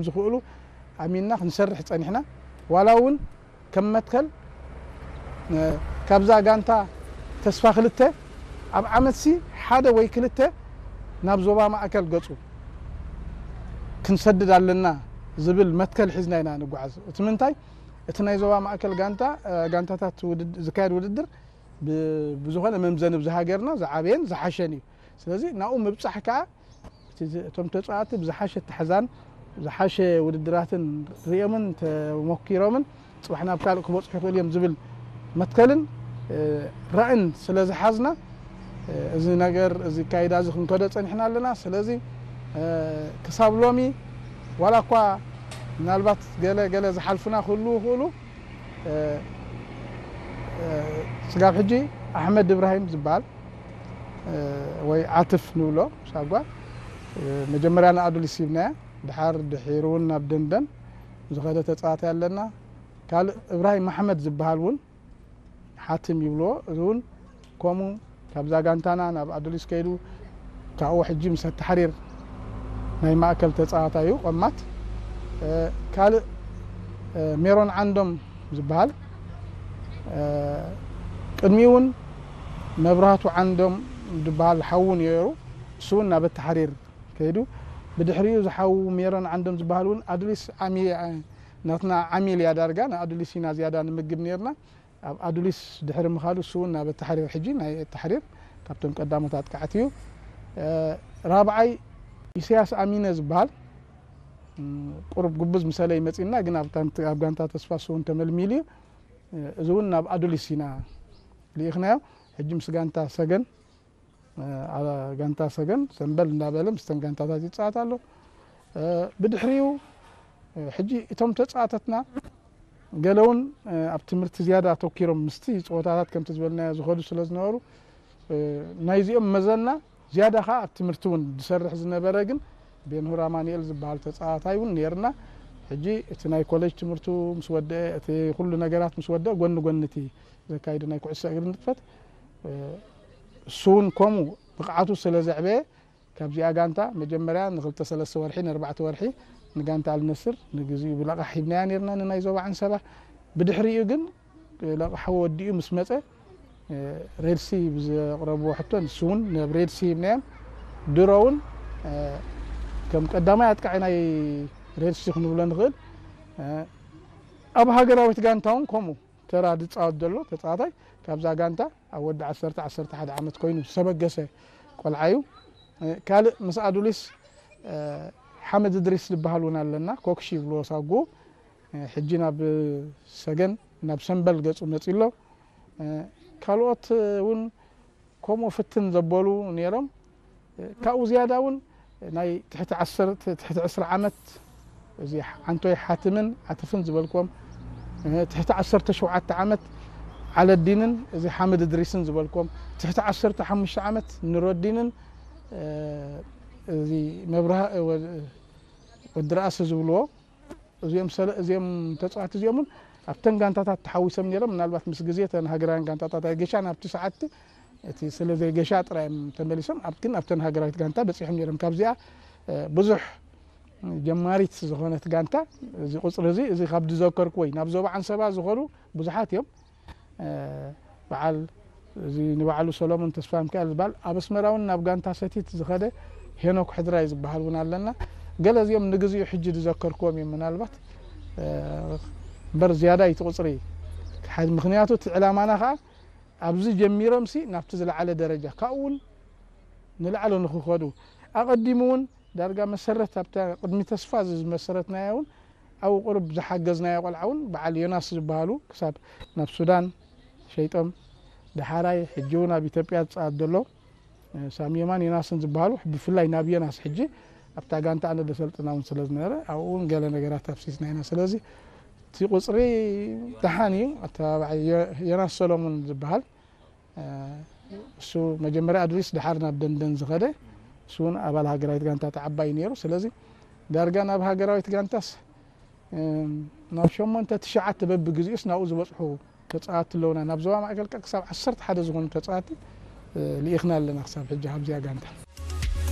ዝኽእሉ ኣሚንና ክንሰርሕ ጸኒሕና። ዋላ እውን ከም መትከል፣ እ፣ ካብዛ ጋንታ ተስፋ ክልተ ኣብ ዓመትሲ ሓደ ወይ ክልተ ናብ ዞባ ማእከል ገጹ ክንሰድድ ኣለና ዝብል መትከል ሒዝና ኢና ንጓዓዝ። እቲ ምንታይ፣ እቲ ናይ ዞባ ማእከል ጋንታ፣ እ፣ ጋንታታት ውድድ-፣ ዝካየድ ውድድር ብ-፣ ብዝኾነ መምዘኒ ብዚ ሃገርና ዝዓበየን ዝሓሸን እዩ። ስለዚ ናብኡ ምብጻሕ ከኣ እቲ ዝ-፣ እቶም ተጻዋቲ ብዝሓሸ ኣተሓዛን ዝሓሸ ውድድራትን ርእዮምን ተሞኪሮምን ጽባሕ ናብ ካልእ ክበጽሑ ይኽእሉ እዮም ዝብል መትከልን፣ እ፣ ራእን ስለ ዝሓዝና፣ እ፣ እዚ ነገር፣ እዚ ኣካይዳ እዚ ክንከዶ ጸኒሕና ኣለና። ስለዚ፣ እ፣ ክሳብ ሎሚ ዋላ እኳ ምናልባት ገለ ገለ ዝሓልፉና ክህልዉ ይኽእሉ፣ እ፣ እ፣ ስጋብ ሕጂ ኣሕመድ እብራሂም ዝበሃል፣ እ፣ ወይ ዓትፍ ንብሎ ሳጓ፣ እ፣ መጀመርያ ንኣዱሊስ ሂብናያ፣ ድሓር ድሒሩ እውን ናብ ደንደን ዝኸደ ተጻዋታይ ኣለና። ካልእ እብራሂም ኣሕመድ ዝበሃል እውን ሓትም ይብልዎ። እዚ እውን ከምኡ ካብዛ ጋንታና ናብ ኣዱሊስ ከይዱ፣ ካብኡ ሕጂ ምስ ኣተሓሪር ናይ ማእከል ተጻዋታይ እዩ፣ ቆማት። እ፣ ካልእ፣ እ፣ ሜሮን ዓንዶም ዝበሃል፣ እ፣ ቅድሚኡ እውን መብራህቱ ዓንዶም ዝበሃል ሓዉ ነይሩ። እሱ እውን ናብ ኣተሓሪር ከይዱ። ብድሕሪኡ ዝሓዉ ሜሮን ዓንዶም ዝበሃል እውን ኣዱሊስ ዓሚ-፣ ናትና ዓሚል እያ ዳርጋ፣ ንኣዱሊስ ኢና ዝያዳ ንምግብ ነይርና። ኣብ ኣዱሊስ ድሕሪ ምኻዱ እሱ እውን ናብ ኣተሓሪር፣ ሕጂ ናይ ኣተሓሪር ካብቶም ቀዳሞት ኣጥቃዕቲ እዩ። እ፣ ራብዓይ ኢሳያስ ኣሚነ ዝበሃል፣ እም፣ ቁሩብ ጉብዝ ምሰለ ይመጺና፣ ግን ኣብ ታንት-፣ ኣብ ጋንታ ተስፋ እሱ እውን ተመልሚሉ እዩ። እ፣ እዚ እውን ናብ ኣዱሊስ ኢና ልኢኽናዮ። ሕጂ ምስ ጋንታ ሰገን፣ እ፣ ኣብ ጋንታ ሰገን ሰምበል እንዳበለ ምስተን ጋንታታት ይጻወት ኣሎ። እ፣ ብድሕሪኡ፣ እ፣ ሕጂ እቶም ተጻዋተትና ገለ እውን፣ እ፣ ኣብ ትምህርቲ ዝያዳ ኣተኪሮም ምስቲ ጸወታታት ከምቲ ዝበልናዮ ዝኸዱ ስለ ዝነበሩ፣ እ፣ ናይዚኦም መዘና ዝያዳ ኸኣ ኣብ ትምህርቲ እውን ዝሰርሕ ዝነበረ ግን ቤንሁር ኣማኑኤል ዝበሃል ተጻዋታይ እውን ነይርና። ሕጂ እቲ ናይ ኮሌጅ ትምህርቱ ምስ ወደአ፣ እቲ ኩሉ ነገራት ምስ ወደአ፣ ጎኒ ጎኒ እቲ ዘካይዶ ናይ ኩዕሶ እግሪ ንጥፈት፣ እ፣ እሱ እውን ከምኡ ብቕዓቱ ስለ ዘዕበየ፣ ካብዚኣ ጋንታ መጀመርያ ንክልተ ሰለስተ ወርሒ፣ ንኣርባዕተ ወርሒ ንጋንታ ኣልነስር ንግዚኡ ብለቓሕ ሂብናያ ነይርና ንናይ ዞባ ዓንሰባ። ብድሕሪኡ ግን ለቓሕ ወዲኡ ምስ መጸ፣ እ፣ ሬድሲ ብዘቕረብዎ ሕቶ ንሱ እውን ናብ ሬድሲ ሂብናዮም። ድሮ እውን፣ እ፣ ከም ቀዳማይ ኣጥቃዒ ናይ ሬድሲ ክንብሎ ንኽእል። እ፣ ኣብ ሃገራዊት ጋንታ እውን ከምኡ ተራ ዝጻወት ዘሎ ተጻዋታይ ካብዛ ጋንታ ኣብ ወዲ ዓሰርተ፣ ዓሰርተ ሓደ ዓመት ኮይኑ ዝተበገሰ ቆልዓ እዩ። እ፣ ካልእ ምስ ኣዱሊስ፣ እ፣ ሓመድ እድሪስ ዝበሃል እውን ኣለና። ኮክሺ ይብልዎ ሳጉ። እ፣ ሕጂ ናብ ሰገን፣ ናብ ሰምበል ገጹ መጺ ኣሎ። እ፣ ካልኦት እውን ከምኡ ፍትን ዘበሉ ነይሮም። ካብኡ ዝያዳ እውን ናይ ትሕቲ ዓሰርተ፣ ትሕቲ ዕስራ ዓመት፣ እዚ ዓንቶይ ሓትምን ዓትፍን ዝበልክዎም፣ ትሕቲ ዓሰርተ ሸውዓተ ዓመት ዓለዲንን እዚ ሓምድ እድሪስን ዝበልክዎም፣ ትሕቲ ዓሰርተ ሓሙሽተ ዓመት ኑረዲንን፣ እዚ መብርሃ-፣ ወዲ ርኣሲ ዝብልዎ፣ እዚኦም ሰለ-፣ እዚኦም ተጻዋቲ እዚኦም እውን ኣብተን ጋንታታት ተሓዊሶም ነይሮም። ምናልባት ምስ ግዜ እተን ሃገራውያን ጋንታታት ኣይገሻን ኣብቲ ሰዓትቲ፣ እቲ ስለ ዘይገሻ ጥራይ እዮም ተመሊሶም። ኣብ-፣ ግን ኣብተን ሃገራዊት ጋንታ በጺሖም ነይሮም። ካብዚኣ፣ እ፣ ብዙሕ ጀማሪት ዝኾነት ጋንታ፣ እዚ ቁጽሪ እዚ፣ እዚ ካብ ዝዘከርኩ ወይ ናብ ዞባ ዓንሰባ ዝኾኑ ብዙሓት እዮም። እ፣ በዓል እዚ ንባዕሉ ሰሎሞን ተስፋ ሚካኤል ዝበሃል ኣብ ኣስመራ እውን ናብ ጋንታ ሰቲት ዝኸደ ሄኖክ ሕድራይ ዝበሃል እውን ኣለና። ገለ እዚኦም ንግዚኡ ሕጂ ዝዘከርክዎም እዮም ምናልባት። እ፣ እምበር ዝያዳ እዩ እቲ ቁጽሪ። ሓ-፣ ምኽንያቱ እቲ ዕላማና ኸኣ ኣብዚ ጀሚሮምሲ ናብቲ ዝለዓለ ደረጃ፣ ካብኡ እውን ንላዕሊ ንኽኸዱ፣ ኣቐዲሙ እውን ዳርጋ መሰረት ኣብታ ቅድሚ ተስፋ እዚ ዝመሰረትናያ እውን ኣብኡ ቁሩብ ዝሓገዝናዮ ቆልዓ እውን በዓል ዮናስ ዝበሃሉ ክሳብ ናብ ሱዳን ሸይጦም፣ ደሓራይ ሕጂ እውን ኣብ ኢትዮጵያ ዝጻወት ዘሎ፣ እ፣ ሳሚ የማን ዮናስን ዝበሃሉ፣ ብፍላይ ናብ ዮናስ ሕጂ ኣብታ ጋንታ ኣነ ደሰልጥና እውን ስለ ዝነበረ ኣብኡ እውን ገለ ነገራት ኣፍሲስና ኢና። ስለዚ እቲ ቁጽሪ ደሓን እዩ። ኣተባባዒ ዮ-፣ ዮናስ ሰሎሙን ዝበሃል፣ እ፣ እሱ መጀመርያ ኣድሪስ ደሓር ናብ ደንደን ዝኸደ፣ እሱ እውን ኣባል ሃገራዊት ጋንታ ተዓባይ ነይሩ። ስለዚ ዳርጋ ናብ ሃገራዊት ጋንታስ፣ እ፣ ናብ ሸሞንተ ትሽዓተ በብግዜኡስ ናብኡ ዝበጽሑ ተጻወትቲ ኣለውና። ናብ ዞባ ማእከል ከኣ ክሳብ ዓሰርተ ሓደ ዝኾኑ ተጻወትቲ፣ እ፣ ልኢኽና ኣለና ክሳብ ሕጂ ካብዚኣ ጋንታ።